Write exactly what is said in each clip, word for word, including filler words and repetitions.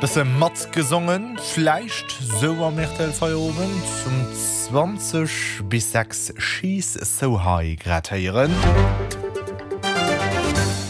Bësse matgesongen vläicht sou am R T L Feierowend um zwanzeg bis sechs She's So High grad héieren.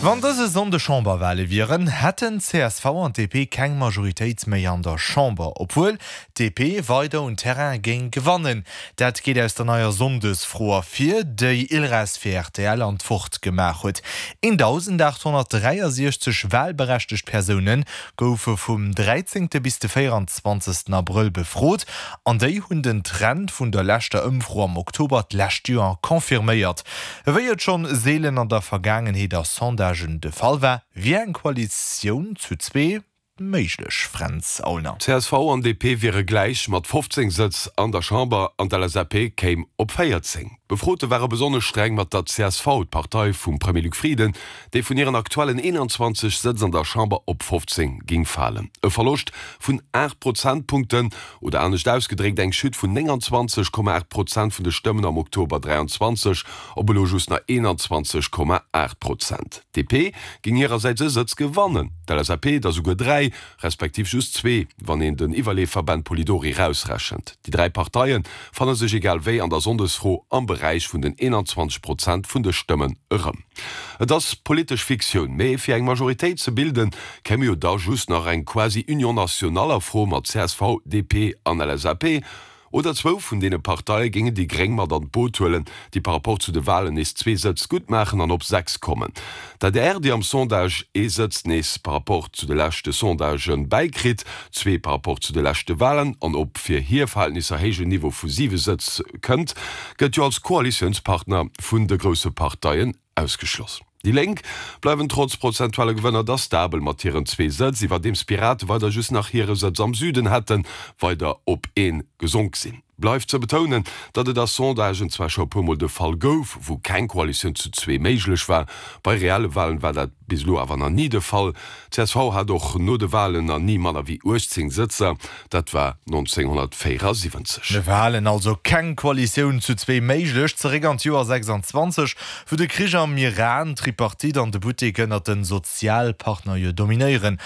Wann dëse Sonndeg Chamberwale wieren, hätten C S V an D P keng Majoritéit méi an der Chamber, obwuel D P weider un Terrain géing gewannen. Dat geet aus der neier Sonndesfro ervir, déi Ilres fir R T L an d'Wort gemaach huet. eendausendaathonnertdräiasechzeg walberechtegt Persoune goufe vum dräizéngte bis de véierenzwanzegsten Abrëll befrot an déi hunn den Trend vun der leschter Ëmfro am Oktober d'lescht Joer confirméiert. Wéi et schonn seelen an der Vergaangenheet a Sondagen de Fall war, wier eng Koalitioun zu zwee méiglech, Fränz Aulner. C S V an D P wiere gläich mat fofzéng Sëtz an der Chamber an d'L S A P kéim op véierzéng. D'Befrote ware besonnesch streng mat der C S V, d'Partei vum Premier Luc Frieden, déi vun hiren aktuellen eenanzwanzeg Sëtz an der Chamber op fofzéng géing falen. E Verloscht vun aacht Prozentpunkten oder anescht ausgedréckt eng Chute vun nénganzwanzeg Komma aacht Prozent vun de Stëmmen am Oktober dräianzwanzeg op elo just nach eenanzwanzeg Komma aacht Prozent. D P géing hirersäits e Sëtz gewannen, d'L S A P der souguer dräi, respektiv just zwee, wann een den Iwwerleefer Ben Polidori rausrechent. Déi dräi Parteie fanne sech egal wéi an der Sonndesfro am Beräich vun den eenanzwanzeg Prozent vun de Stëmmen erëm. Et ass politesch Fiktioun, mee fir eng Majoritéit ze bilden, kéim jo da just nach eng quasi Union nationale a Fro mat C S V, D P an L S A P. Oder zwou vun deene Parteie géingen déi Gréng mat an d'Boot huelen, déi par rapport zu de Walen nees zwee Sëtz gutt maachen an op sechs kommen. D'A D R, déi am Sondage ee Sëtz nees par rapport zu de leschte Sondagë bäikritt, zwee par rapport zu de leschte Walen, an op fir hir Verhältnisser héijen Niveau vu siwe Sëtz kënnt, gëtt jo als Koalitiounspartner vun de grousse Parteien ausgeschloss. Déi Lénk bleiwen trotz prozentuale Gewënner da stabel mat hiren zwee Sëtz, iwwerdeems d'Pirate weider just nach hire Sëtz am Süden hätten, weider op ee gesonk sinn. Bleift ze betounen, datt et a Sondagen zwar scho puermol de Fall gouf, wou keng Koalitioun zu zwee méiglech war, bei reelle Walen war dat bis elo awer nach ni de Fall. C S V hat och no de Walen nach ni manner wéi uechtzéng Sëtzer, dat war nonzénghonnertvéierasiwwenzeg. Walen also keng Koalitioun zu zwee méiglech. Zeréck an d'Joer sechsanzwanzeg, wou de Krich am Iran d'Tripartite an de Buttek ënnert de Sozialpartner jo dominéieren.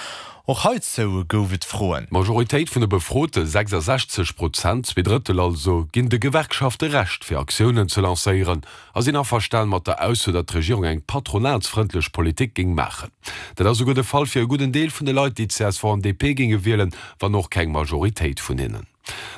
Och heizou gouf et Froen. D'Majoritéit vun de Befrote, sechsasechzeg Prozent, zwee Drëttel also, ginn de Gewerkschafte Recht fir Aktiounen ze lancéieren a sinn averstan mat der Ausso, datt d'Regierung eng patronatsfrëndlech Politik géing maachen. Dat ass souguer de Fall fir e gudden Deel vun de Leit, déi C S V an D P géinge wielen, wann och keng Majoritéit vun hinnen.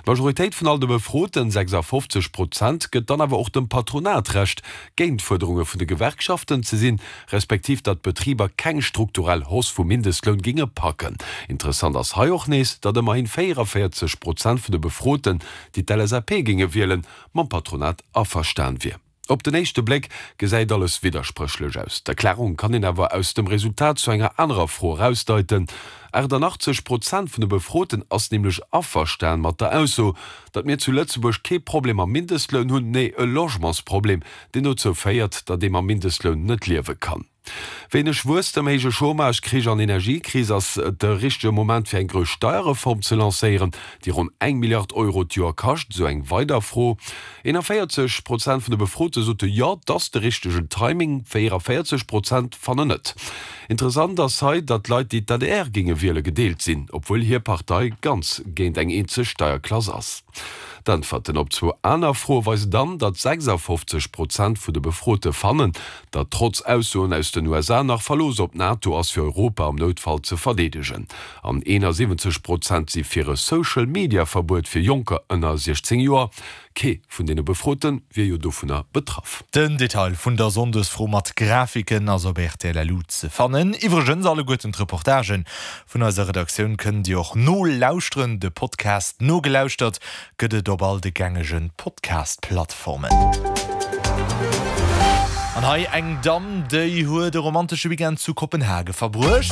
D'Majoritéit vun all de Befroten, sechsafofzeg Prozent, gëtt dann awer och dem Patronat Recht, géint d'Fuerderunge vun de Gewerkschaften ze sinn, respektiv datt d'Betriber keng strukturell Hausse vum Mindestloun géinge packen. Interessant ass hei och nees, datt ëmmerhi véieranvéierzeg Prozent vun de Befroten, déi d'L S A P géinge wielen, mam Patronat averstan wier. Op den éischte Bléck gesäit alles widderspréchlech aus. D'Erklärung kann een awer aus dem Resultat zu enger anerer Fro erausdeiten. Achtannachtzeg Prozent vun de Befroten ass nämlech averstan mat der Ausso, datt mir zu Lëtzebuerg kee Problem mam Mindestloun hunn, nee e Logementsproblem, deen dozou féiert, datt ee mam Mindestloun net liewe kann. Wéineg Wuesstem, héije Chômage, Krich an Energiekris, ass et de richtege Moment fir eng grouss Steierreform ze lancéieren, déi ronn eng Milliard Euro d'Joer kascht, esou eng weider Fro. Eenanvéierzeg Prozent vun de Befrote sote jo, et ass de richtegen Timing, véieranvéierzeg Prozent fannen net. Interessant ass hei, datt Leit, déi d'A D R géinge wiele gedeelt sinn, obwuel hir Partei ganz géint eng eenzeg Steierklass ass. D'Äntwerten op zwou aner Froe weisen dann, datt sechsafofzeg Prozent vun de Befrote fannen, datt trotz Aussoen aus den U S A nach Verlooss op d'NATO ass fir Europa am Noutfall ze verdeedegen. An eenasiwwenzeg Prozent si fir e Social-Media-Verbuet fir Jonker ënner siechzéng Joer. Kee vun deene Befrote wier jo dovunner betraff. Den Detail vun der Sonndesfro mat Grafiken ass op R T L L U ze fannen. Iwwregens alleguerten d'Reportagen vun eiser Redaktioun kënnt Dir och nolauschteren. De Podcast Nogelauschtert gëtt et op all de gängege Podcast-Plattformen. An hei eng Damm, déi huet e romantesche Weekend zu Kopenhage verbruecht.